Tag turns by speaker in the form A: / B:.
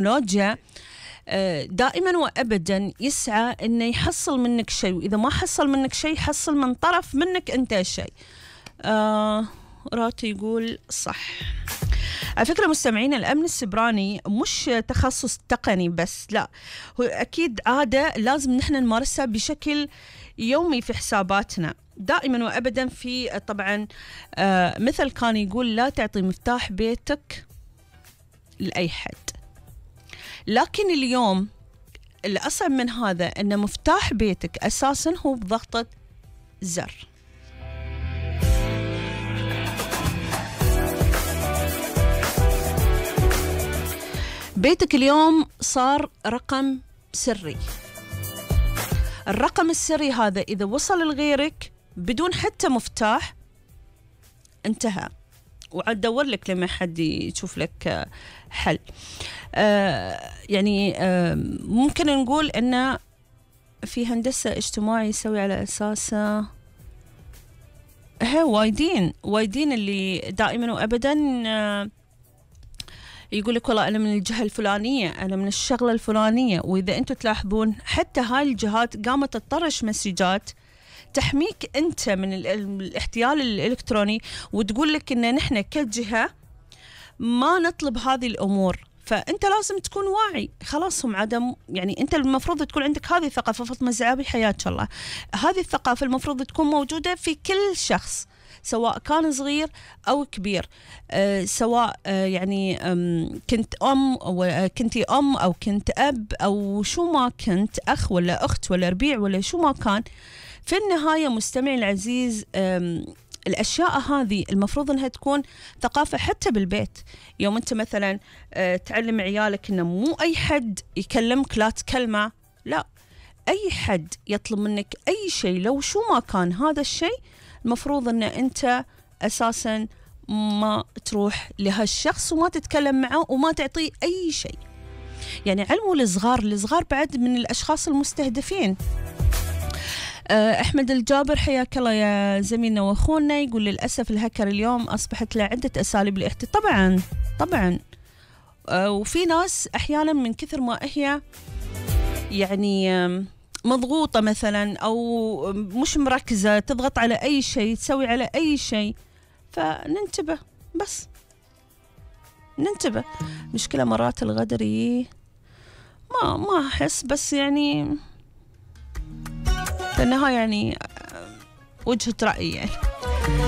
A: التكنولوجيا دائما وأبدا يسعى إنه يحصل منك شيء، وإذا ما حصل منك شيء يحصل من طرف منك أنت شيء. راتي يقول صح. على فكرة مستمعين، الأمن السبراني مش تخصص تقني بس، لا، هو أكيد عادة لازم نحن نمارسها بشكل يومي في حساباتنا دائما وأبدا. في طبعا مثل كان يقول لا تعطي مفتاح بيتك لأي حد، لكن اليوم الأصعب من هذا أن مفتاح بيتك أساسا هو بضغطة زر. بيتك اليوم صار رقم سري. الرقم السري هذا إذا وصل لغيرك بدون حتى مفتاح انتهى، وعاد دور لك لما حد يشوف لك حل. يعني ممكن نقول أن في هندسة اجتماعي يسوي على أساسه وايدين اللي دائما وأبدا يقول لك والله أنا من الجهة الفلانية، أنا من الشغلة الفلانية. وإذا أنتم تلاحظون حتى هاي الجهات قامت تطرش مسجات تحميك أنت من الاحتيال الإلكتروني، وتقول لك إن نحن كجهة ما نطلب هذه الأمور. فأنت لازم تكون واعي. خلاص هم عدم، يعني أنت المفروض تكون عندك هذه الثقافة. فاطمة زعابي حياك الله، هذه الثقافة المفروض تكون موجودة في كل شخص سواء كان صغير أو كبير. سواء يعني كنت أم أو كنتي أم أو كنت أب أو شو ما كنت، أخ ولا أخت ولا ربيع ولا شو ما كان. في النهاية مستمعي العزيز، الأشياء هذه المفروض أنها تكون ثقافة حتى بالبيت. يوم أنت مثلا تعلم عيالك أنه مو أي حد يكلمك لا تكلمه، لا، أي حد يطلب منك أي شيء لو شو ما كان هذا الشيء المفروض أن أنت أساسا ما تروح لهالشخص وما تتكلم معه وما تعطيه أي شيء. يعني علموا الصغار بعد من الأشخاص المستهدفين. أحمد الجابر حياك الله يا زميلنا وأخونا، يقول للأسف الهكر اليوم أصبحت له عدة أساليب الاحتيال. طبعا وفي ناس أحيانا من كثر ما هي يعني مضغوطة مثلا أو مش مركزة تضغط على أي شيء، تسوي على أي شيء. فننتبه، بس ننتبه. مشكلة مرات الغدري ما أحس، بس يعني في النهاية يعني وجهة رأيي يعني.